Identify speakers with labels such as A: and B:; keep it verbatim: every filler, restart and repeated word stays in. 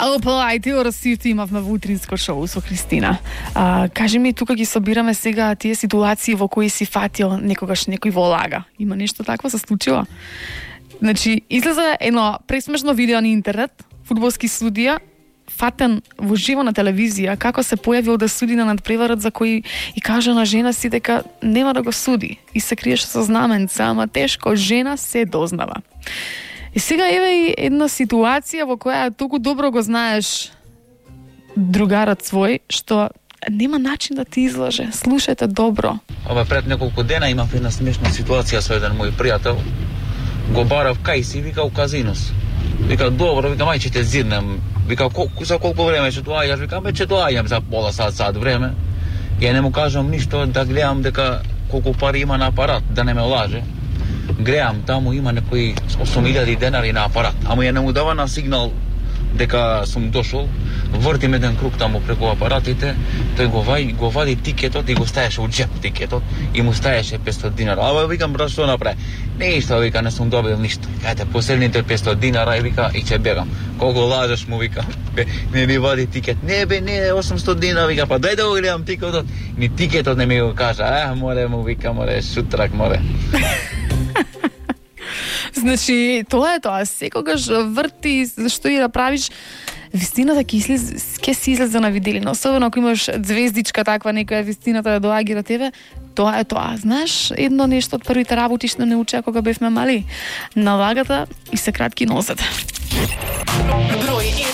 A: Опа, ајде орасијте имавме во утринско шоу со Кристина. А, кажи ми, тука ги собираме сега тие ситуации во кои си фатил некогаш некој во лага. Има нешто такво се случило? Значи, излезе едно пресмешно видео на интернет, фудбалски судија, фатен во живо на телевизија, како се појавил да суди на надпреварот за кој и кажа на жена си дека нема да го суди и се криеше со знаменца, ама тешко жена се дознава. И сега еве и една ситуација во која толку добро го знаеш другарот свој, што нема начин да ти излаже. Слушајте добро.
B: Ова пред неколку дена имав една смешна ситуација со еден мој пријател. Го барав кај си, вика, у казинос. Вика, добро, вика, мај ќе те зирнем. Вика, колку, за колку време ќе доаѓаш? Вика, ме ќе доаѓам за пола сат, сат време. Ја не му кажам ништо, да гледам дека колку пари има на апарат, да не ме лаже. Гледам, таму има некои осум илјади денари на апарат, ама ја не му дава на сигнал дека сум дошол. Вртим еден круг таму преку апаратите, тој го вади, го вади тикетот и го стаеше у джеп тикетот и му стаеше петстотини динара. Ама викам, брат, што направи? Ништо, вика, не сум добил ништо. Ете, последните петстотини динара и вика, и ќе бегам. Колку лажеш му, вика, не ми вади тикет. Не бе, не, осумстотини динара, вика, па дај да го гледам тикетот. Ни тикетот не ми го кажа. Е, море му, вика, море, шутрак, море.
A: Значи, тоа е тоа. Секогаш врти, зашто и да правиш, вистината ќе излезе, ќе си излезе на виделина. Особено ако имаш звездичка таква, некоја вистината да доаѓа до тебе, тоа е тоа. Знаеш, едно нешто од првите работи што не учеа кога бевме мали. Налагата и се кратки носете.